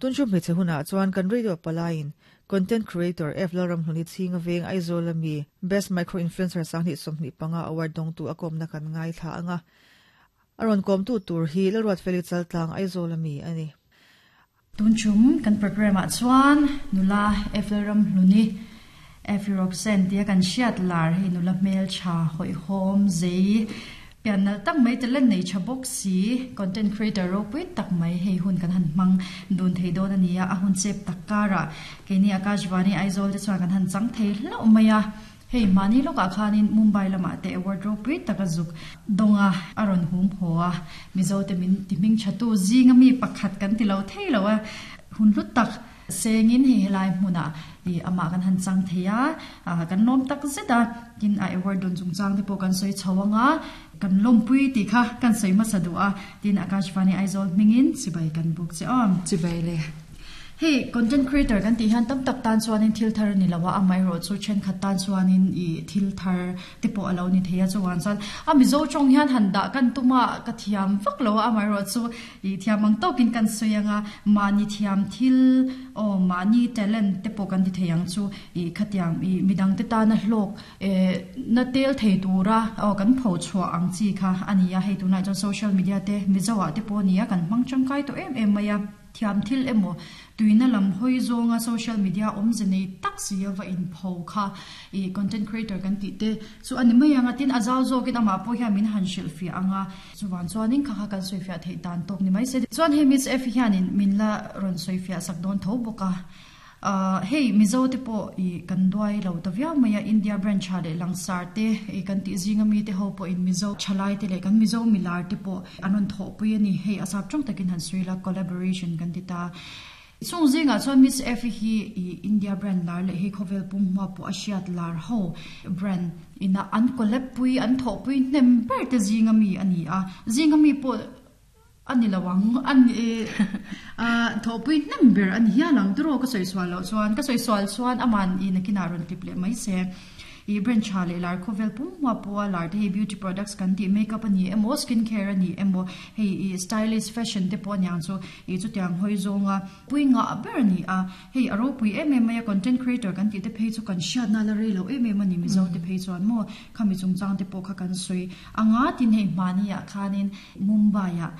Tunchum hmeichhe hunah chuan kan radio palaiin Content Creator F Lalramhluni chhinga veng Aizawl ami Best Micro Influencer 2025 award dawngtu a kawmna kan ngaithla anga a rawn kawmtu tur hi Lalruatfeli Chaltlang Aizawl ami a ni. Tunchum kan programme ah chuan nula F Lalramhluni Effie Roxanne tia kan hriat lar hei nula hmeltha hawihhawm zei pian nalh tak mai talent nei tha bawk si content creator ropui tak mai hei hun kan han hmang dun thei dawn a ni a, a hun chep tak karah keini Akashvani Aizawl te chuan kan han chang thei hlauh mai a, hei mahni lawkah khanin Mumbai lamah te award ropui tak a zuk dawng a, a rawn hum haw a, Mizo te min ti hming tha tu zinga mi pakhat kan ti lo thei lo a, hun hlu tak Sengin hei helai hmunah ih amah kan han chang thei a, ah kan lawm tak zet a, tin a award dawn chungchang te pawh kan sawi chho ang a, kan lawmpui tih kha kan sawi hmasa duh a, tin Akashvani Aizawl hmingin chibai kan buk che aw. Chibai le. Hei content creator kan tih hian tam tak tan chuanin thil thar a ni lo a, amaherawh chu thenkhat tan chuanin ih thil thar te pawh a lo ni thei a, chuvang chuan a Mizo tawng hian han dah kan tum a, ka thiam vak lo a, amaherawh chu I thiam ang tawkin kan sawi ang a, mahni thiam thil aw mahni talent te pawh kan ti thei ang chu i khatiang i midang te tana hlawk eh na tel thei tura aw kan pho chhuah ang chi kha a ni a, hei tunah chuan social media te Mizo ah te pawh a ni a kan hmang tangkai tawh em em mai a, thiam thil emaw Tuina lam hawi zawnga social media awmze nei tak si a va inpho kha i content creator kan tih te chu a ni mai ang a, tin a zau zawkin amah pawh hian min han hrilhfiah ang a, chuvan chuanin kha kha kan sawifiah theih dan tawk ni mai se. Chuan hei Miss Effie hianin min la rawn sawifiah sak dawn tho bawk a, ahh hei Mizo te pawh i kan duai lo ta viau mai a, India branch ah leh langsar te i kan tih zinga mi te ho pawhin Mizo thalai te leh kan Mizo milar te pawh an rawn thawhpui a ni. Hei a sap tawng takin han sawi la, collaboration kan ti ta. Chung zingah chuan Miss Effie hi i India brand lar leh hei khawvel pum hma pawh a hriat lar ho brand ina an collab pui, an thawhpui hnem ber te zinga mi a ni a. Zinga mi pawh a ni lo ang, a ni thawhpui hnem ber a ni hial ang. Tiraw ka sawi sual loh chuan, ka sawi sual chuan aman i nakinah rawn tlip leh mai se. I brand tha leh lar khawvel pum hma pawha lar te hei beauty products kan tih makeup a ni emaw skin care a ni emaw hei i stylish fashion te pawh a niang chu i chutiang hawi zawnga pui ngah ber a ni a hei a ropui em em mai a content creator kan tih te phei chu kan hriatna la rei lo em em a ni mizo te phei chuan maw khami chungchang te pawh kha kan sawi anga tin hei hmani ah khanin Mumbai ah.